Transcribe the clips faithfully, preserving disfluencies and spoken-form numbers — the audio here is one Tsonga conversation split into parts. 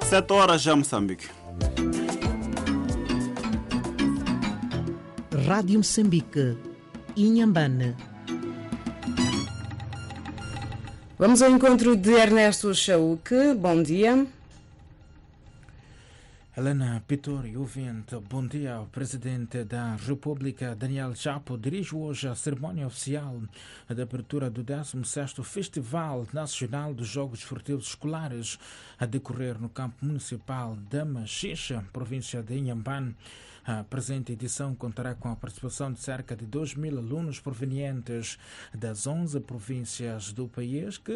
Sete horas já, Moçambique. Rádio Moçambique, Inhambane. Vamos ao encontro de Ernesto Chaúque. Bom dia. Helena Pitori, ouvinte, bom dia. O presidente da República, Daniel Chapo, dirige hoje a cerimónia oficial de abertura do décimo sexto Festival Nacional dos Jogos Esportivos Escolares, a decorrer no campo municipal da Maxixe, província de Inhambane. A presente edição contará com a participação de cerca de dois mil alunos provenientes das onze províncias do país que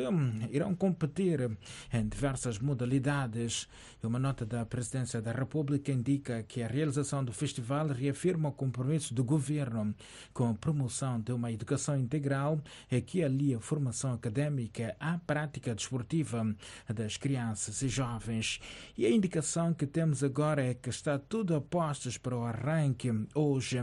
irão competir em diversas modalidades. Uma nota da Presidência da República indica que a realização do festival reafirma o compromisso do governo com a promoção de uma educação integral que alia a formação académica à prática desportiva das crianças e jovens. E a indicação que temos agora é que está tudo a postos para o arranque hoje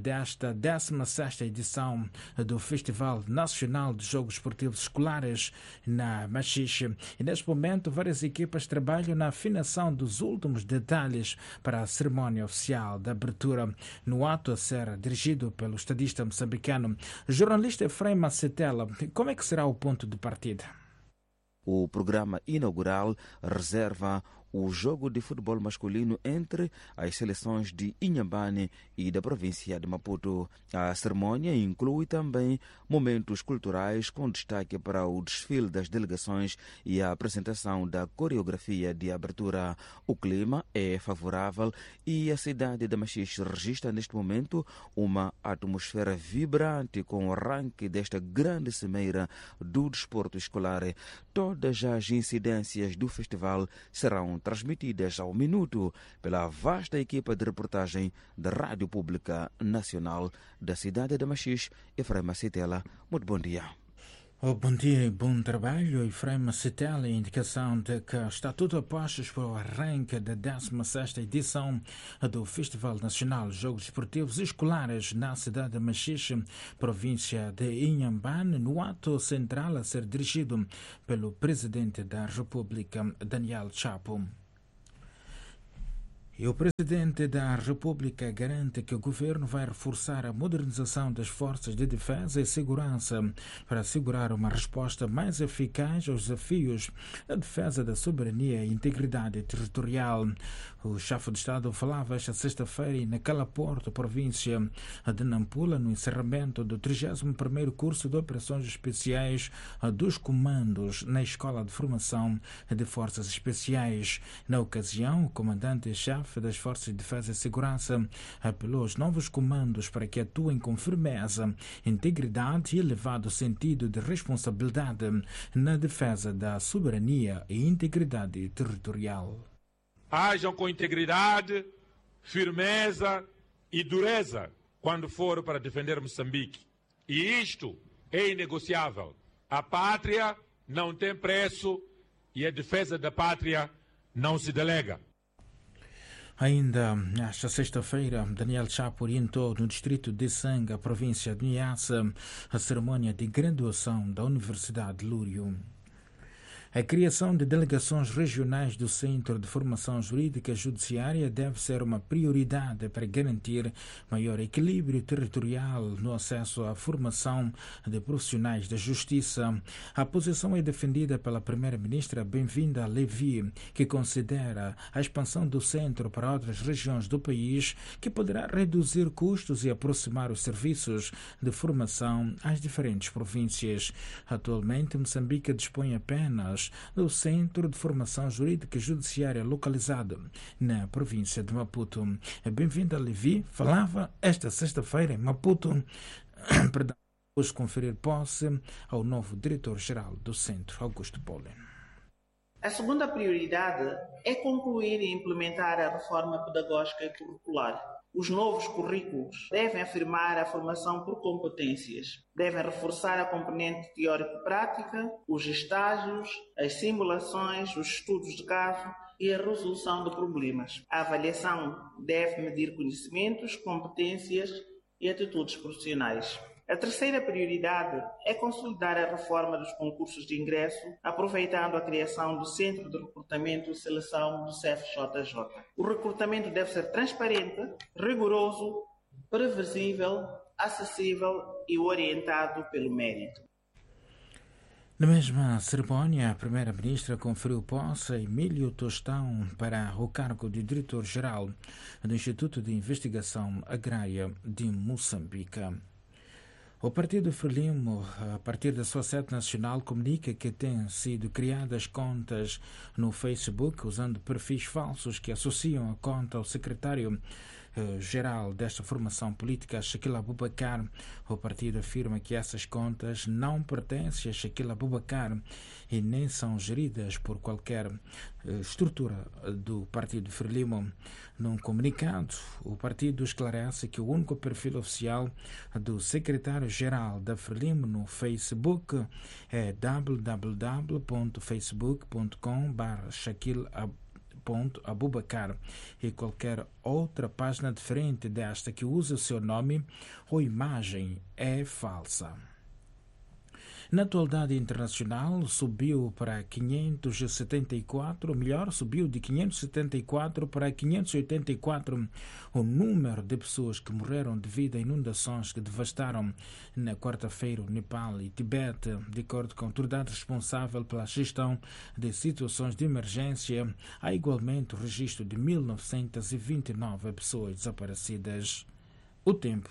desta décima sexta edição do Festival Nacional de Jogos Esportivos Escolares na Maxixe. E neste momento várias equipas trabalham na afinação dos últimos detalhes para a cerimónia oficial de abertura. No ato a ser dirigido pelo estadista moçambicano, jornalista Efraim Macetela, como é que será o ponto de partida? O programa inaugural reserva o jogo de futebol masculino entre as seleções de Inhambane e da província de Maputo. A cerimônia inclui também momentos culturais com destaque para o desfile das delegações e a apresentação da coreografia de abertura. O clima é favorável e a cidade de Maxixe registra neste momento uma atmosfera vibrante com o arranque desta grande cimeira do desporto escolar. Todas as incidências do festival serão transmitidas ao minuto pela vasta equipa de reportagem da Rádio Pública Nacional da cidade de Maxixe. Efraim Macetela, muito bom dia. Oh, bom dia e bom trabalho, Efraim Macetela. Indicação de que está tudo a postos para o arranque da décima sexta edição do Festival Nacional de Jogos Esportivos Escolares na cidade de Maxixe, província de Inhambane, no ato central a ser dirigido pelo presidente da República, Daniel Chapo. E o presidente da República garante que o governo vai reforçar a modernização das forças de defesa e segurança para assegurar uma resposta mais eficaz aos desafios da defesa da soberania e integridade territorial. O chefe de Estado falava esta sexta-feira na Calaporto, província de Nampula, no encerramento do trigésimo primeiro curso de operações especiais dos comandos na Escola de Formação de Forças Especiais. Na ocasião, o comandante-chefe das Forças de Defesa e Segurança apelou aos novos comandos para que atuem com firmeza, integridade e elevado sentido de responsabilidade na defesa da soberania e integridade territorial. Ajam com integridade, firmeza e dureza quando for para defender Moçambique. E isto é inegociável. A pátria não tem preço e a defesa da pátria não se delega. Ainda nesta sexta-feira, Daniel Chapo orientou no distrito de Sanga, província de Niassa, a cerimônia de graduação da Universidade de Lúrio. A criação de delegações regionais do Centro de Formação Jurídica Judiciária deve ser uma prioridade para garantir maior equilíbrio territorial no acesso à formação de profissionais da justiça. A posição é defendida pela primeira-ministra Benvinda Levi, que considera a expansão do centro para outras regiões do país, que poderá reduzir custos e aproximar os serviços de formação às diferentes províncias. Atualmente, Moçambique dispõe apenas do Centro de Formação Jurídica e Judiciária localizado na província de Maputo. Bem-vinda, Levi. Falava esta sexta-feira em Maputo, perdão, depois de conferir posse ao novo diretor-geral do centro, Augusto Poli. A segunda prioridade é concluir e implementar a reforma pedagógica e curricular. Os novos currículos devem afirmar a formação por competências, devem reforçar a componente teórico-prática, os estágios, as simulações, os estudos de caso e a resolução de problemas. A avaliação deve medir conhecimentos, competências e atitudes profissionais. A terceira prioridade é consolidar a reforma dos concursos de ingresso, aproveitando a criação do Centro de Recrutamento e Seleção do C F J J. O recrutamento deve ser transparente, rigoroso, previsível, acessível e orientado pelo mérito. Na mesma cerimónia, a primeira-ministra conferiu posse a Emílio Tostão para o cargo de diretor-geral do Instituto de Investigação Agrária de Moçambique. O Partido Frelimo, a partir da sua sede nacional, comunica que têm sido criadas contas no Facebook usando perfis falsos que associam a conta ao secretário geral desta formação política, Shaquille Abubacar. O partido afirma que essas contas não pertencem a Shaquille Abubacar e nem são geridas por qualquer estrutura do Partido Frelimo. Num comunicado, o partido esclarece que o único perfil oficial do secretário-geral da Frelimo no Facebook é w w w ponto facebook ponto com barra Shaquille Abubacar e qualquer outra página diferente desta que use o seu nome ou imagem é falsa. Na atualidade internacional, subiu para quinhentos e setenta e quatro, melhor, subiu de quinhentos e setenta e quatro para quinhentos e oitenta e quatro o número de pessoas que morreram devido a inundações que devastaram na quarta-feira o Nepal e Tibete, de acordo com a autoridade responsável pela gestão de situações de emergência. Há igualmente o registro de mil novecentas e vinte e nove pessoas desaparecidas. O tempo.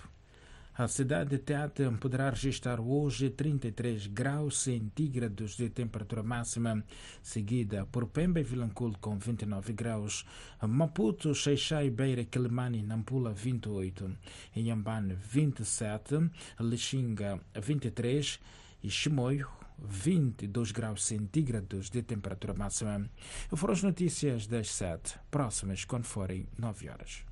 A cidade de Tete poderá registrar hoje trinta e três graus centígrados de temperatura máxima, seguida por Pemba e Vilanculo com vinte e nove graus, Maputo, Xaixai, Beira, Quelimane e Nampula vinte e oito, Inhambane vinte e sete, Lixinga vinte e três e Chimoio vinte e dois graus centígrados de temperatura máxima. Foram as notícias das sete, próximas quando forem nove horas.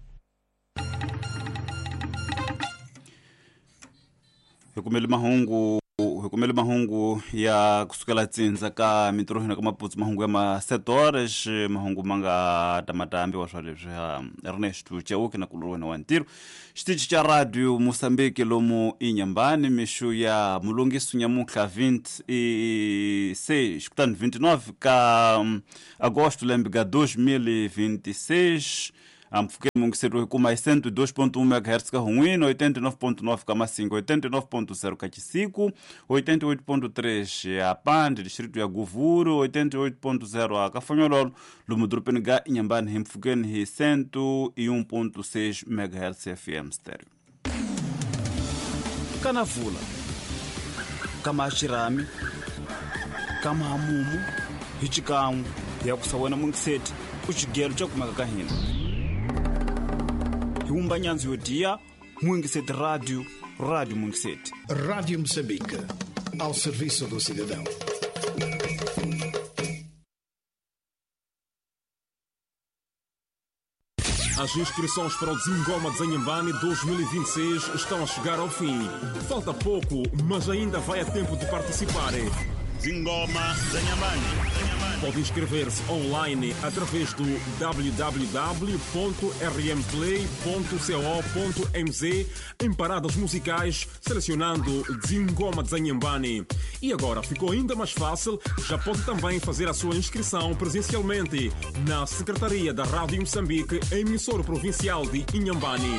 Hi kumele mahungu hi kumele mahungu ya kusukela tsindza ka mintirho ka Maputo, mahungu ya ma sete horas, mahungu ma nga ta matambiwa swa leswi ha Ernesto Chauke na kulurwena wa ntirho. Xitichi xa Radio Moçambique lomu Inhambane, mixo ya mulungiso nyamuntlha vinte e seis, kutani vinte e nove ka agosto lembe ka dois mil e vinte e seis. Ampfukeni mungiseriwe kuma cento e dois ponto um megahertz ka Hunwino, oitenta e nove ponto nove ka Massinga, oitenta e nove ponto zero ka Chisico, oitenta e oito ponto três a Pande, distrito ya Govuro, oitenta e oito ponto zero a Cafanhololo, lomu dorobeni ga Inhambane hi mpfukeni hi cento e um ponto seis megahertz F M stereo. Kanavula, kama Xirami, kama Hamumu, hi xikan'we ya ku sawena mungiseti ku xigelo xa kumeka ka hina. Humba nyanzi yo dia, Mungisete Rádio, Rádio Mungisete. Rádio Moçambique, ao serviço do cidadão. As inscrições para o Zingoma de Inhambane dois mil e vinte e seis estão a chegar ao fim. Falta pouco, mas ainda vai a tempo de participar. Zingoma de Inhambane. Pode inscrever-se online através do w w w ponto r m play ponto co ponto m z em paradas musicais, selecionando Zingoma de Inhambane. E agora ficou ainda mais fácil, já pode também fazer a sua inscrição presencialmente na Secretaria da Rádio Moçambique, emissora provincial de Inhambane.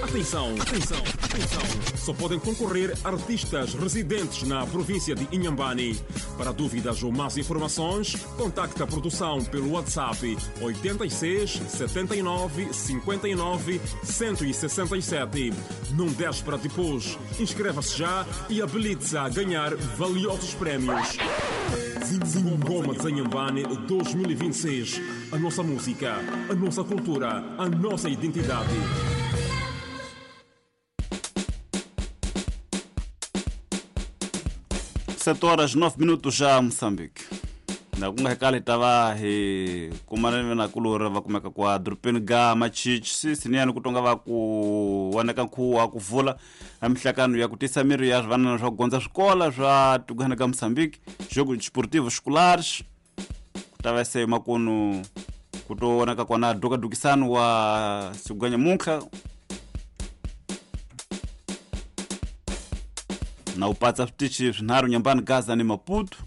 Atenção, atenção, atenção. Só podem concorrer artistas residentes na província de Inhambane. Para dúvidas ou mais informações, contacte a produção pelo WhatsApp oitenta e seis, setenta e nove, cinquenta e nove, cento e sessenta e sete. Não deixe para depois. Inscreva-se já e habilite-se a ganhar valiosos prémios. Zingoma de Inhambane dois mil e vinte e seis. A nossa música, a nossa cultura, a nossa identidade. sete horas nove minutos já Moçambique. Na kunga hekali tava hi kumana na kulura va kumeka kwa dorobeni ga Machichi siniyani ku tonga va ku waneka nkhuwa ku vula a mihlakano ya ku tisa miri ya swivanana swa ku gondza swikola swa tikwana ka Moçambique, jogo desportivo escolares ku ta va se makunu ku to vonaka kona dukadukisano wa siganya muntlha. Na u patsa switichi swinharhu Nyambani, Gaza ni Maputo.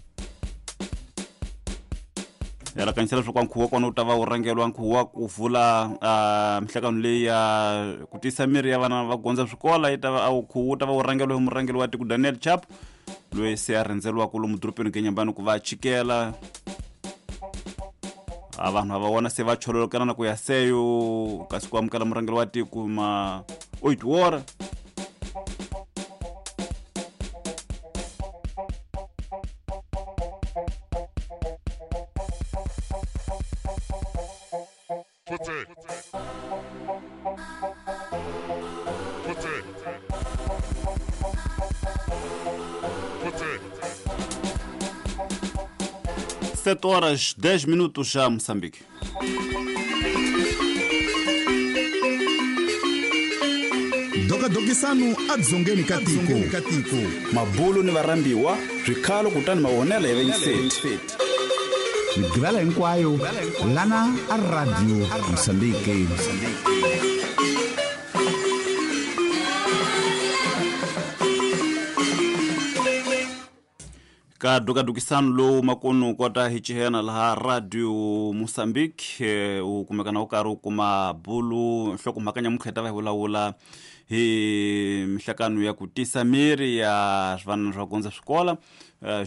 Yalakanyisela leswaku nkhuvo wa kona wu ta va wu rhangeriwa nkhuvo wa ku vula mihlangano leyi ya ku tisa miri ya vana va gondza swikola yi ta va nkhuvo wu ta va wu rhangeriwa hi murhangeri wa tiko Daniel Chapo loyi se a rhendzeriwaka lomu dorobeni ka Nyambani ku va chikela a vanhu va vona se va chololokana na ku ya seyo kasi ku amukela murhangeri wa tiko ma oito hora. sete horas dez minutos já Moçambique. Dokadokisanu adzongeni katiko. Mabulu ni varambiwa swikhalo kutani mavonelo ya vengiseti. Migqivela hinkwayo lana a Radio Mozambique. Ka dokadokisano lowu makunu kota hi cihena laha Radio Mozambique u kumeka na u karhi u kuma bulu nhlokomhaka nyamuntlha hi ta va hi vulavula hi mihlangano ya ku tisa miri ya swivanana swa gondza swikola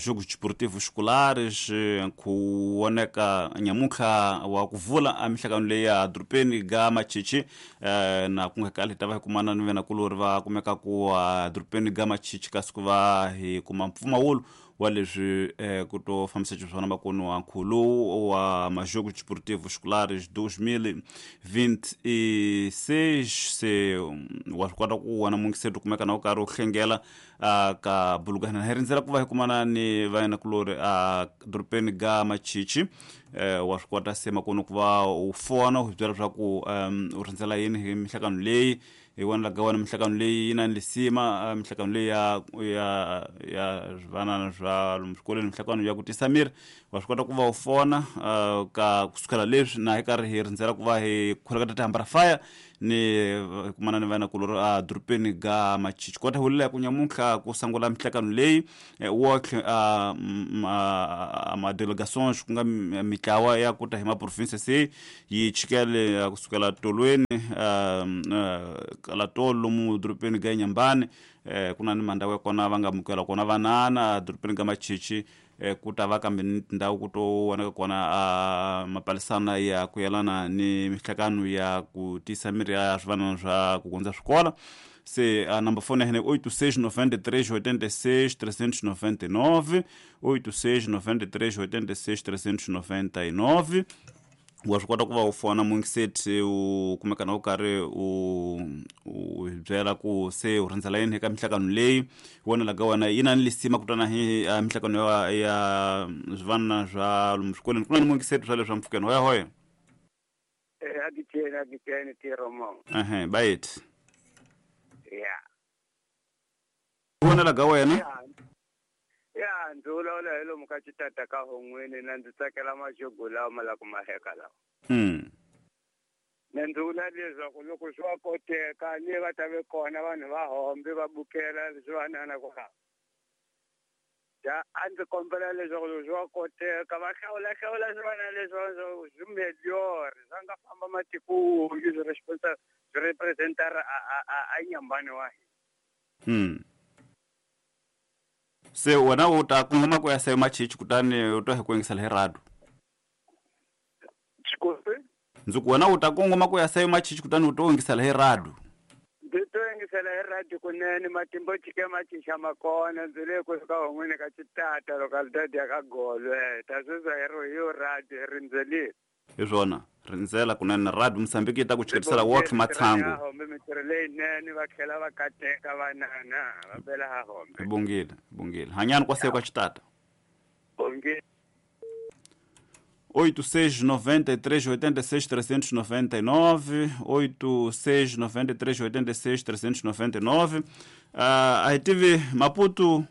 jogos desportivos escolares ku voneka nyamuntlha wa ku vula a mihlangano leyi ya dorobeni ga Machichi na ku nga kali hi ta va hi kumana ni venakulori va kumeka ku dorobeni ga Machichi kasi ku va hi kuma mpfumawulo wa leswi ku to fambisa xiswona makunu wa nkhulo wa majogos desportivos escolares dois mil vinte e seis se wa swi kota ku vona mungiseto kumeka na u karhi u hlengela ka bulugana hi rindzela ku va hi kumana ni vayenakulori a dorobeni ga Machichi wa swi kota se makunu ku va u fona u byela leswaku u rindzela yini hi mihlangano leyi hi wona laga wona mihlangano leyi yi na lisima mihlangano leyi ya ya ya swivanana swa lomu swikolweni mihlangano ya ku tisa miri wa swi kota ku va u fona ka kusukela leswi na hi karhi hi rindzela ku va hi khuleka tihambara fire ni kumana ni vanakulori a dorobeni ga Machichi kota hulela ku nyamuntlha ku sungula mihlangano leyi wotlhe a ma delegations ku nga mitlawa ya ku ta hi ma province se yi chikele kusukela tolweni kala tolo lomu dorobeni ga Nyambani ku na ni mandhawu ya kona va nga amukela kona vanana dorobeni ga Machichi ku ta va kambe ni tindhawu ku to vonaka kona a mapalisana ya ku yelana ni mihlangano ya ku tisa miri ya swivanana swa ku gondza swikola se a number phone ya hina oito seis nove três oito seis três nove nove oito seis nove três oito seis três nove nove wa swi kota ku va u fona mungiseti u kumeka na u karhi u u byela ku se u rindzela yini eka mihlangano leyi wona laga wena yi na ni lisima ku twana hi mihlangano ya ya swivanana swa lomu swikolweni ku na ni mungiseti swa leswi mpfukeni hoya hoya eh agitena agitena tiro mo ehe bayit ya wona laga wena ya ndzi vulavula hi lomu ka xitata ka hon'wini na ndzi tsakela majogo lawa ma la ku maheka lawa mm na ndzi vula leswaku loko swi wa koteka ni va ta ve kona vanhu va hombe va bukela leswi vanana kwalaho ja a ndzi kombela leswaku loko swi wa koteka va hlawula hlawula swivana leswi swi meliore swa nga famba matiko swi swi representara a a a Nyambani wa hina mm se wena u ta kongoma ku ya se Machichi kutani u ta hi ku yingisela hi radio ndzi ku wena u ta kongoma ku ya se Machichi kutani u to yingisela hi radio ndzi to yingisela hi radio kunene matimba chike machicha makona ndzi le ku ka hon'wini ka xitata localidade ya ka Golwe ta sweswi hi ri hi yo radio hi rindzelile hi swona rindzela kunene Radio Mozambique yi ta ku chiketisela wotlhe matshangu hombe mintirho leyinene va tlhela va kateka vanana va bela ha hombe bongile bongile hanyani kwa seko xitata bongile oito seis nove três oito seis três nove nove oito seis nove três oito seis três nove nove a hi tivi Maputo uh,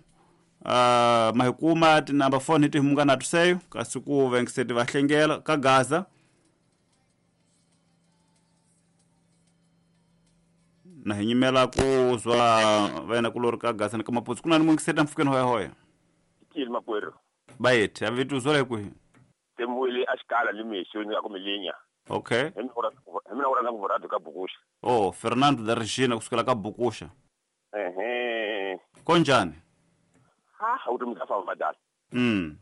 ma hi kuma tinamba phone hi ti humungana tuseyo kasi ku vengiseti va hlengela ka Gaza Na hi nyimela ku zwa vena ku lori ka gasa ka Maputsu ku na ni mungiseta mfukeni hoya hoya. Kile makwerhu. Bayethe avitu zwa hi Temuwele a xikala ni mixo ni ku milinya. Okay. Hi mina u rhandza ku radio ka Bukusha. Oh, Fernando da Regina kusukela ka Bukusha. Ehe. Konjani? Ha, u ri mkafa badala. Mm.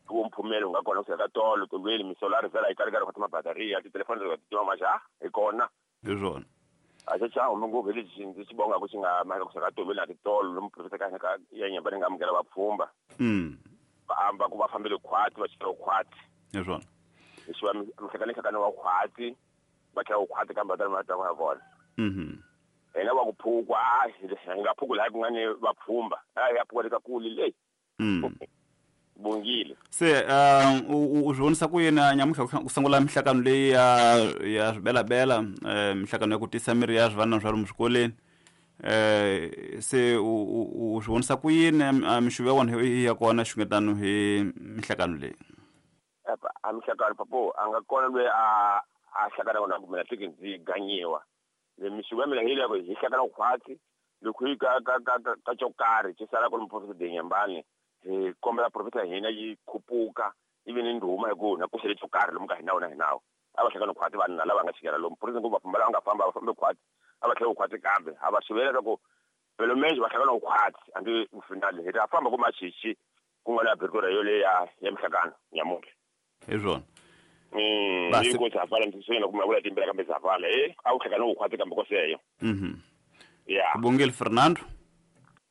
Ku mphumelo nga kona ku ka tolo tolweni misolari vela yi karikari ku mabataria titelefoni ta tima maja hi kona. Hi swona. A xi xa hume ngopfu lexi ndzi xi bonga ku xi nga mhaka ku ka tolweni na titolo lomu professor ka ka ya nyamba ni nga amukela vapfhumba. Mm. Va amba ku va fambele khwati va xela khwati. Hi swona. Leswi va mihlekane hlekane wa khwati va tlhela khwati kambe va ta va vona. Mhm. Hina va ku phukwa a hi nga phuku laha ku nga ni vapfhumba a ya phuka ka kuli leyi. Mm. Bongile. Se um u zvonisa ku yena nyamuhla ku sungula mihlakano leyi ya ya swibelabela mihlakano ya ku tisa miri ya swivana swa lomu swikoleni eh se u zvonisa ku yini mixuvo ya wona ya kona xungetano hi mihlakano leyi. Apa a mihlakano papo a nga kona loyi a a hlakana kona ku mina tiki ndzi ganyiwa le mixuvo ya mina hi leyi hi hlakana khwatsi loko hi ka ka ka ka xo karhi xi sala ku ri muprofesa Denyambane hi kombela profesa hina yi khupuka ivi ni ndhuma hi ku na ku xele xo karhi lomu ka hina wona hinawo a va hlangana khwati vanhu na lava nga chikela lomu profesa ngopfu vapfhumba lava nga famba va fambe khwati a va tlhela khwati kambe a va xivela leswaku pelo menje va hlangana khwati andi finale hi ta famba ku machichi ku nga na abertura yoleyo ya ya mihlakano nyamuntlha. Hi swona. Mm, ni ku zafala ndzi ku mavula timbela kambe zafala eh a wu hlangana khwati kambe ko seyo. Mhm. Yeah. Bongile Fernando.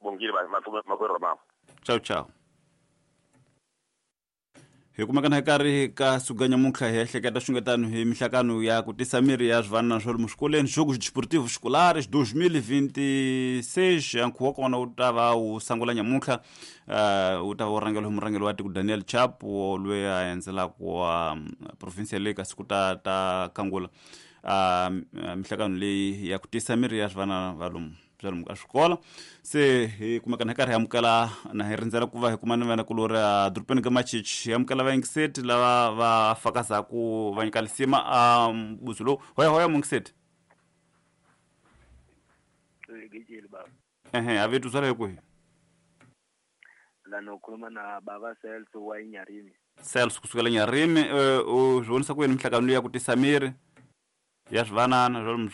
Bongile makwerhu mama. Ciao ciao. Hi kumeka hi karhi ka suka nyamuntlha hi ehleketa xungetano hi mihlakano ya ku tisa miri ya swivana swa lomu swikolweni Jogos Desportivos Escolares dois mil e vinte e seis nkhuvo wa kona wu ta va wu sungula nyamuntlha wu ta va wu rhangela hi murhangeri wa tiko Daniel Chapo loyi a endzelaka wa province leyi kasi ku ta ta kangula mihlakano leyi ya ku tisa miri ya swivana va lomu bya lomu ka swikolo. Se hi kumeka hi karhi hi amukela na hi rindzela ku va hi kuma ni vana kulori a dorobeni ka Machichi hi amukela vayingiseti lava va fakazaku va nyika lisima a mbuzo lowu. Hoya hoya mungiseti. Ehe, avitu swala hi kwihi? Lana ukhuluma na baba Celso wa Inyarimi. Celso kusukela Nyarimi, u zvonisa ku yini mihlakano leyi ya ku tisa miri ya swivanana swa lomu